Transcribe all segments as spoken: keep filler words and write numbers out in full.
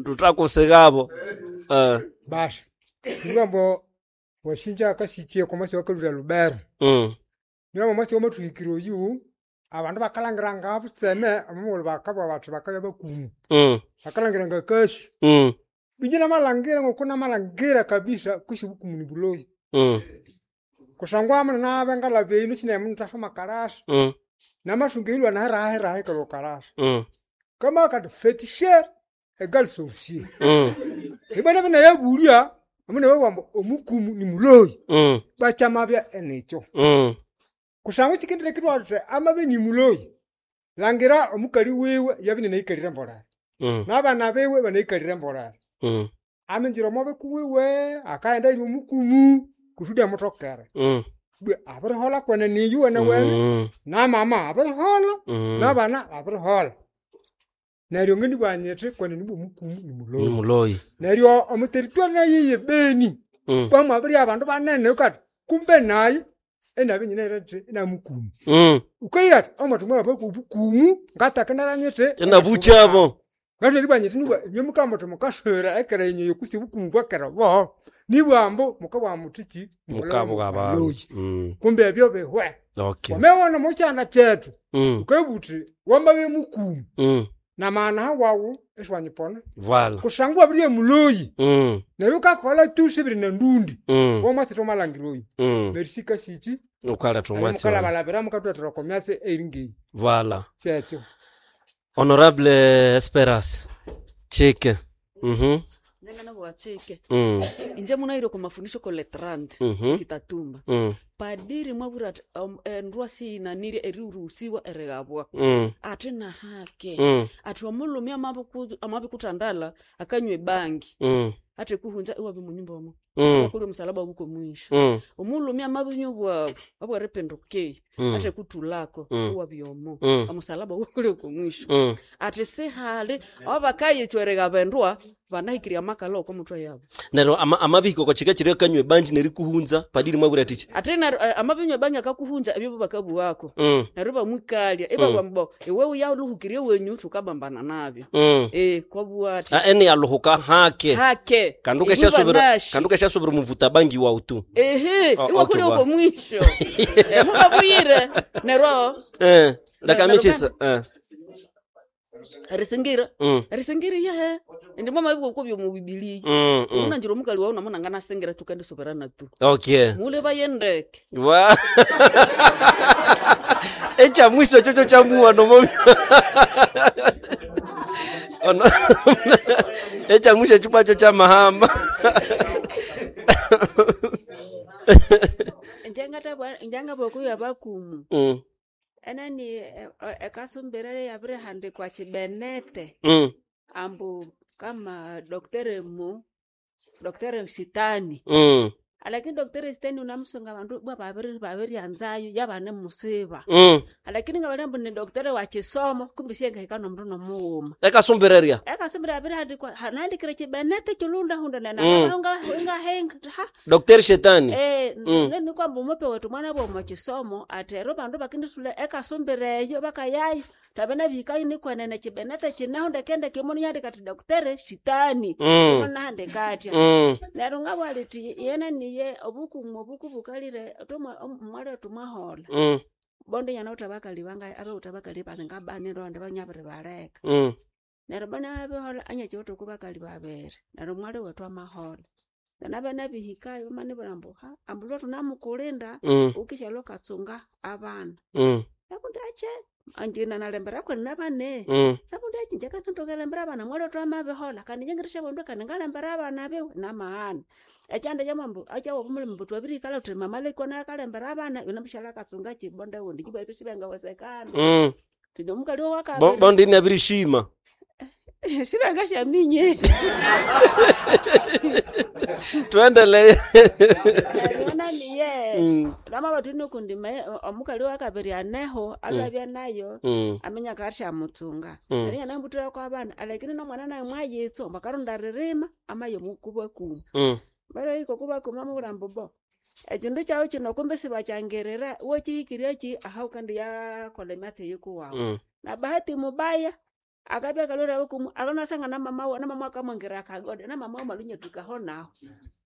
Tutakusigabo. Eh. Basi nibwambo wasinja akasikye okomwasi owakalhwire elubero. Mm. Neryo omwatsi owamathuhikira oyu, abandu bakalhangira ngabutseme omomughulhu bakabugha bathi bakabya bakumu. Mm. Bakalhangira ngakasi. Mm. Ingye namalhangira ngokunamalhangira kabisa kwisi obukumu nibuloyi. Mm. Kusangwa munenabya ngalhaba eyi wunasi nayi munithasoma kalasi. Mm. Namasunga erilhwa hirahi erilhwa kalasi. Mm. Kamabugha kathi feticheur egal sorcier. Mm. Ibwa nabya inayabulya, munababugha ambu omukumu nimuloyi. Mm. Ibwa kyamabya inikyo. Mm. Kusangwa ekyikendileka ithwabugha thuthi amabya inimuloyi, langira omukali wiwe yabya inanayikalire mbolere. Mm. Nabana biwe ibanayikalire mbolere. Mm. Aminjira omwabikuwiwe, akaghenda eyiri omukumu kusudi amuthokere. Mm. Ibwa abiriholha kwenene iyuwenewene, Mm. namama abiriholha, Mm. nabana babiriholha. Neryo ngendibugha nyithi kwenene ibwa omukumu nimuloyi. Nimuloyi. Neryo omo territory nayo eye Beni, Mm. kwamwabiribya abandu banene ghukati kumbe nayi inabya inyinayirathi inamukumu. Mm. Ghukahira athi omwathu mwahaba kwobukumu ngatakinera nyithi Inabukyabo. Ngatholere eribugha nyithi nibwa inywe mukabugha muthi mukaswira ekera yinywe eyo kwisi obukumu bwakera obo, nibwa ambu mukabugha muthikyi Mukabugha abandu. baloyi. Mm. Kumbe ebyo bihwe. Okay. Wamabya omo kyanda kyethu, Mm. ghukabugha wuthi wamabya mukumu, Mm. namaghana wawu isiwanyipona. Voilà. Kusangwa iwabiribya muloyi. Mm. Neryo ghukakolha tu sibiri nendudi. Mm. Womwatsi thwamalhangira oyu. Mm. Neryo sikasikyi. Ukaletha omwatsi oyo. Mukalabalabira mukathuthwalira oko myatsi eyiri ngeyi. Voilà. Kyekyo. Honorable Esperance Chike. Mhm. Nyanganabugha chike Mm. inje munahire oko mafundisho ko letrand Mhm. kitatumba Mm. padiri mwabwira athi um, endwa siyinanire eriruhusiwa erighabwa Mm. athi nahake Mm. athi omulhume amabiku- amabikuthandala akanywa ebangi Mm. athi kuhunza iwabya munyumba omo Mm. kuli omusalaba wuko mwisho Mm. omulhume amabinywa obwabu obweripinduka Mm. athi kuthulako Mm. iwabya omo Mm. omusalaba wukuli oko mwisho Mm. athi sihali abakayithwa erigaba endwa banahikirya amakala oko muthwe yabo Neryo ama, amabihika oko kika kiri akanywa ebangi nerikuhunza padiri mwabwira atichi. ate neryo eh, amabinywa ebangi akakuhunza ebyo bakabuwako Mm. neryo ibamwikalya ibabugha mbu iwe uyaluhukirye wenyu thukabambana nabyo Mm. eh kwabugha athi Ah, ene yaluhuka hake. hake Kanduke Iwe shasubira banashi. kanduke shasubira muvuta bangi wautu. ehe Oh, iwe kuli okay, oko mwisho Eh, mubabuyire neryo Eh, leka Neryo michisa. Eh. erisingira Mm. erisingira yehe indi mwamabibwa kobyo mu bibiliya Mm. Mm. unanjira omukali wawu namuna nganasingira tukandisoberana tu Okay. mule bayendeke Wa. Echa mwisho chocho cha muwa nomo. Ono. Echa mwisho chupa cho cha mahamba. Njangabokuya bakumu Mm. enani ekasumbira yabirihandikwa chibenete Mm. ambu kama doktere mu doktere sitani Mm. alakini doktere sitani unamusunga bandu bwa babiri babiryanzayo yabane musiba Mm. alakini ngabali ambu ni doktere wa chisomo kumbi siyengahika nomundu nomughuma Ekasumbireria. ekasumbira yabirihandikwa nahandikire chibenete chilundahunda Mm. nenangahinga ha Dr. Shetani. Eh, Mm. nini kwamba umupe wetu mwana bwo chisomo ati ero bandu bakindisule ekasumbira eyo bakayayo tabena bihikayo nikwenene chibenete chineho ndekendeke imunu yandika ati doktere sitani Mm. imunu nahandika atya Mm. neryo ngabwala iti yena niye obukumu obuku bukalire omwali wetu mwahola Mm. bondo nyana uthi abakali banga abawuthi abakali bali ngabani ndo banyabiri baleka Mm. neryo bana babihola anyachiwithe ku bakali babiri neryo omwali wetu amahola nabana bihikayo bamanibwira ambu ha ambu lwa thunamukulinda Mm. ukishalwa ukatsunga abana Mm. nakundi ache anje nanalembera kwene nabane Mm. nakundi ache inje kanathokelembera abana mwali wetu amabihola kandi inje ngirisha bondu kandi ngalembera abana biwe namaghana ekyanda kyamambu akyawobumulimo mbu twabirihikalha thuthi mama lekwa nayo akalembera abana yunabishalha akatsunga kibonde wundi kibwa ebyo sibengawezekana Mm. thundi omukali Bo owakabiri bondi nabirishima. sibengasyaminyie Tuendelee. naniye Mm. lwamaba thunokundi omukali owakabiri aneho alwabya nayo Mm. aminya akashamutsunga Mm. neryo inanambuthirako abana alakini nomwana naye mwayitswa ambu akaronda ririma amaya omukubakuma Mm. balahika okubakuma amabwira ambu bo ekindu kyawu kino kumbe sibakyangirira iwakihikirye ki aha wukandiyakolha emyatsi eyikuwawu Mm. na bahati mubaya Akabya akalhwere abakumu akanasanga na mama wiwe na mama akamwangira akagode na mama wiwe mwalhunyathukaho nahu.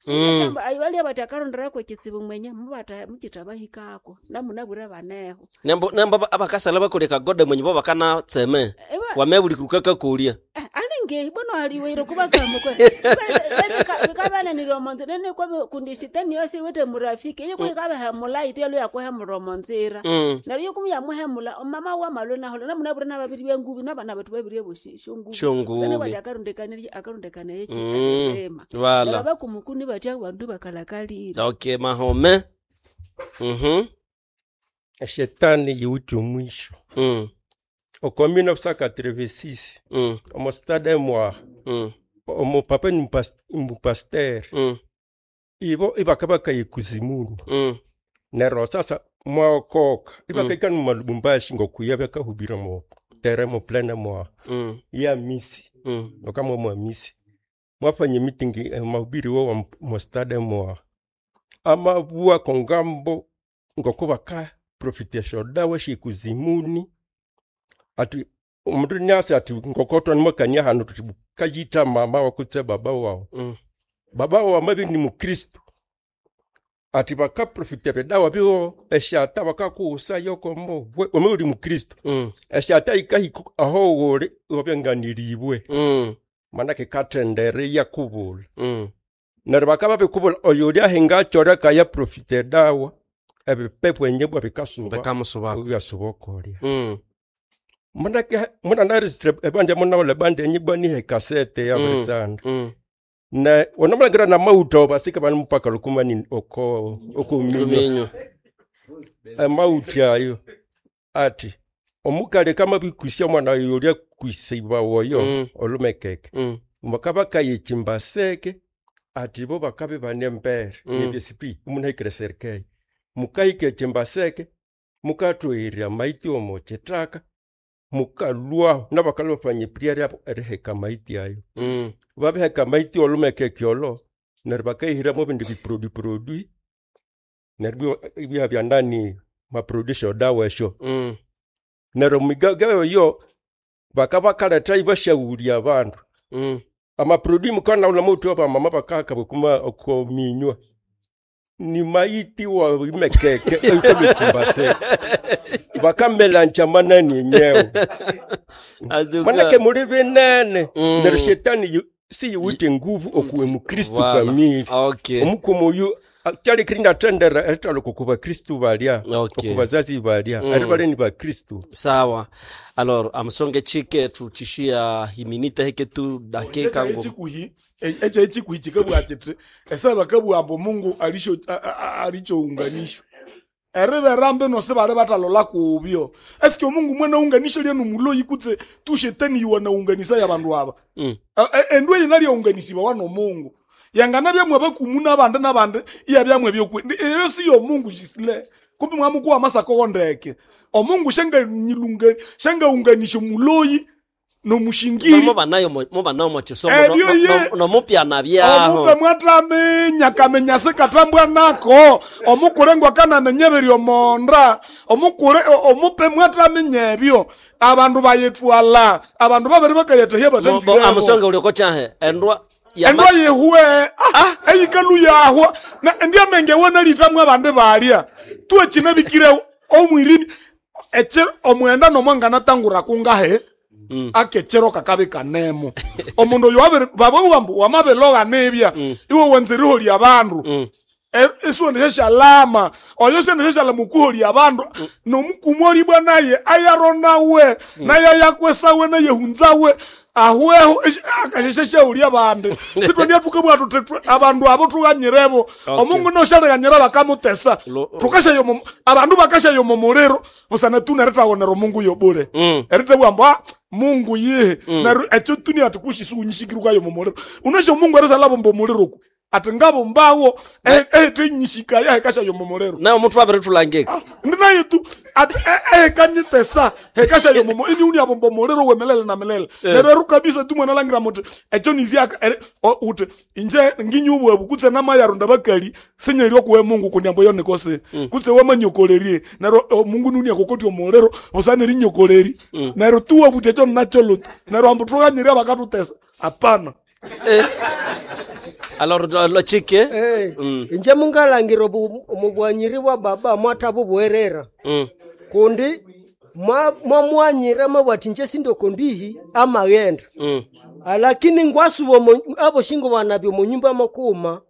Mm. Ayibalya bathi akarondera kwekitsibu mwenye mubatha mukithabahikako namunabwire baneho. Nembo nembo abakasala bakolya kagode mwenye bo bakanatseme. Ewa Wamebuli kakakolya. Eh, alinge bwino aliweire kubakamukwe bikabananira omonzira nikwa kundi shetani yose iwithe murafiki iyo kuyikabahemula yithe yalwe yakuhemula omonzira. Mm. Neryo iyo yamuhemula mama wamalwe nahola namunabwire nababiri byengubi nabana bethu babiri bosi shongubi. Shongubi. Sana bati akarondekana akarondekana eki Mm. erima. Wala. Neryo abakumukuni bathi abandu bakalakalire. Okay, mahome. Mhm. Shetani yiwithe omwisho. Mm. Oko mille neuf cent quatre-vingt-six Mm. omo stade mwa Mm. omo papa ni mupasteur Mm. ibo ibakabaka ikuzimuni Mm. neryo sasa mwaokoka ibakaika mm. Lubumbashi ngokuya bakahubira mo tere mo plene mwa Mm. ya misi Mm. okamwa mwa misi mwafanye meeting eh, mahubiri wo mo stade mwa amabua kongambo ngoko baka profitation dawa shikuzimuni ati omundu nyasi ati ngokotwa nimwakania hanu tuti kayita mama wakutse baba wao Mm. baba wao amabi ni mukristo ati bakaprofitera dawa biwo eshata bakakuusa yokomo wame uli mukristo Mm. eshata ikahika aho woli wabyanganiribwe Mm. manake katendere yakubula Mm. neryo bakaba bikubula oyo uli ahingachora kaya profite dawa ebipepo enyebwa bikasuba Bakamusubako. byasuba okolya Mm. manake muna naregistre ebandi munaola ebandi enyibwa nihe kasete ya Mm. bulitsanda Mm. na onamalangirana na mauta basika bani mupaka lukumani oko okuminywa Kuminyo. amauti ayo ati omukali kamabikusia omwana oyo ulya kwisiba woyo Mm. olumekeke Mm. bakaba kayichimbaseke ati bo bakabe bane mbere Mm. nyebesipi umunahikire serikali mukahika echimbaseke mukatwirya maiti omo chitaka mukalwaho nabakalwa bafanya priere yabo eriheka maiti ayo Mm. babiheka maiti olumekeke olo neryo bakahiramo ebindi biprodu produit neryo ibya bya ndani maproduit syodawa esyo Mm. neryo migaga eyo bakabakaletha ibashaghulya abandu Mm. amaproduit mukana ula mutu abamama bakaka bukuma okominywa ni maiti wa imekeke ekuluchimbase bakamelanja manani enyewe Aduka. manake muli binene Mm. neryo shetani yu- siyiwithe nguvu okuwe mukristu Wala. kamili Okay. omukumu oyu kyalikiri natendera erithaluka oku bakristu balya Okay. oku bazazi balya Mm. ari bali ni bakristu Sawa. Alors, amsonge chike tuchishia himinita heke tu dakika ngo. echikuhi echa echikuhi chikabwa chiti esa bakabwa ambo Mungu alisho a- a- a- alichounganishwa eriberambe nose bali batalola kubyo eske Mungu mwene unganisho lyenu muloyi kutse tu shetani yuwanaunganisa ya bandu aba Mm. endu eyi nalyaunganisiwa wano Mungu yangana byamwe bakumu nabandi nabandi iya byamwe byokwe eyo siyo Mungu jisile kumbi mwamukuwa masako wondeke omungu shenga nyilunga shenga unganisho muloyi nomushingiri Mo banayo mo banayo mo chisomo Ebyo no, ye. no, no mupyana byaho. omupe mwataminya kamenya sikatambwa nako omukulengwa kanamenye biri omonda omukule o- omupe mwataminya ebyo abandu bayitwala abandu babiri bakayethahya Bo- bo batanzirebo amusonge uliko chahe endwa ya endwa yehuwe ah, eyikalu yahwa na endiamenge wonalitamwe abandi balya tuekinabikire omwirini eche omwenda nomwanganatangura kungahe mm. akechero kakabi kanemo omundu oyo wabiri babawambu wamabiloga nibya mm. iwe wenzeriholya abandu mm. esiwendesha shalama oyo sendesha shalama okuholya abandu mm. nomukumu olibwa naye ayaronawe mm. naye ayakwesawe naye hunzawe ahweho akashesheshaulya abandi sitwendia tukabwa tuti abandu abo tughanyirebo Okay. omungu noshaliganyira bakamutesa Lo- tukashayo mu- abandu bakashayo mu muliro busana tuneritawonera omungu yobule Mm. eritebwa mbu "Ah, mungu yihe neryo ekyo tuni ati kushisuunyishikirwayo mu muliro unesho mungu erisalabo mbu omuliro ku Ati ngabumbawo ehetenyishikaya hekasha yomomolero. Nawe omuntu abiritulangika. Ndi naye tu ati ehekanyitesa hekasha yomomo ini uni abomba omuliro wemelele na melele. Neryo kabisa tu mwana langira muti ekyo niziaka uti inje nginyubwebu kutse namayarunda bakali sinyeri okuwe Mungu kundi ambo yonikose kutse wamanyokolerie neryo Mungu nuni akokoti omuliro busana erinyokoleri neryo tuwa buti ekyo nakyo lutu neryo ambu tukanyiri abakatutesa apana. Eh. Alors lo chike Eh, inje mungalangira omubwanyiri bwa baba mwathabubwerera mm. kundi mwamwanyira mwabwati inje sindokondihi amaghenda mm. alakini ngwasuba aboshingo banabyo munyumba mokuma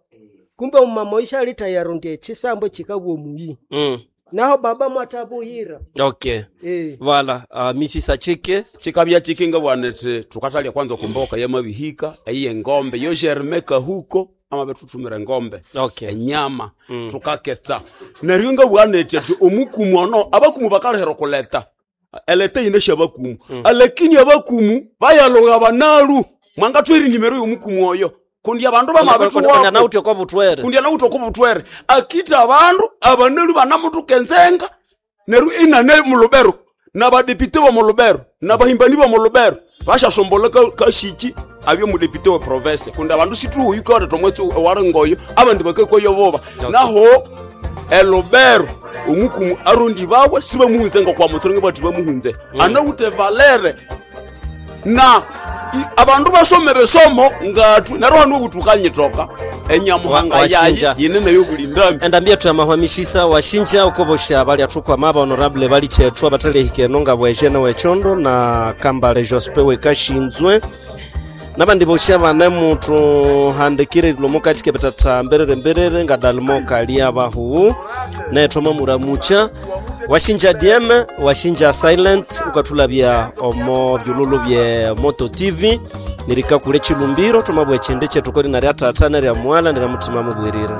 kumbe omumama oishalita yarundi echisambo chikabwa omuyi mm. naho baba mwathabuhira Okay. Eh. Voilà, uh, Missus Achike chikabya chikinga bwanete tukatalya kwanza kumboka yamabihika eyiye ngombe yo germe kahuko amabethuthumira ngombe Okay. enyama mm. tukaketsa neryo nga bwanete ati omukumu ono abakumu bakalehera okuleta eleta yine syabakumu mm. alakini abakumu bayaloga banalu mwangathweri nimero yomukumu oyo kundi abandu bamabethuwako nauti okobutwere kundi anawuthi okobutwere akita abandu abanalu banamutuka enzenga neryo inane mulubero nabadepite bomulubero nabahimbani bomulubero bashasombola kashiki abye mudepite we province kundi abandu situhuyikore tomwetsi owaringoyo abandi bakakwayo boba naho elubero omukumu arondi bawe sibamuhunze ngokwamusoronge bati bamuhunze mm. anawuthe valere na i- abandu basome besomo ngatu neryo hanu obutukanyitoka enyamuhanga Wa- yaye washinja. yine nayo bulindami endambia tuyamahwamishisa washinja ukobosha bali athukwama aba honorable bali chethu abathalehikeno nga bwejene wechondo na kambale jospe wekashinzwe nabandi bosha bane muthuhandikire ilomo katika betata mberere mberere nga dalimo kalia bahuwu nethoma muramucha washinja D M washinja silent ukathulabya omo byululu bye moto T V nirikakule chilumbiro thomabwa echindi chethu kori narya tata nerya mwala nerya mutima mubwirire.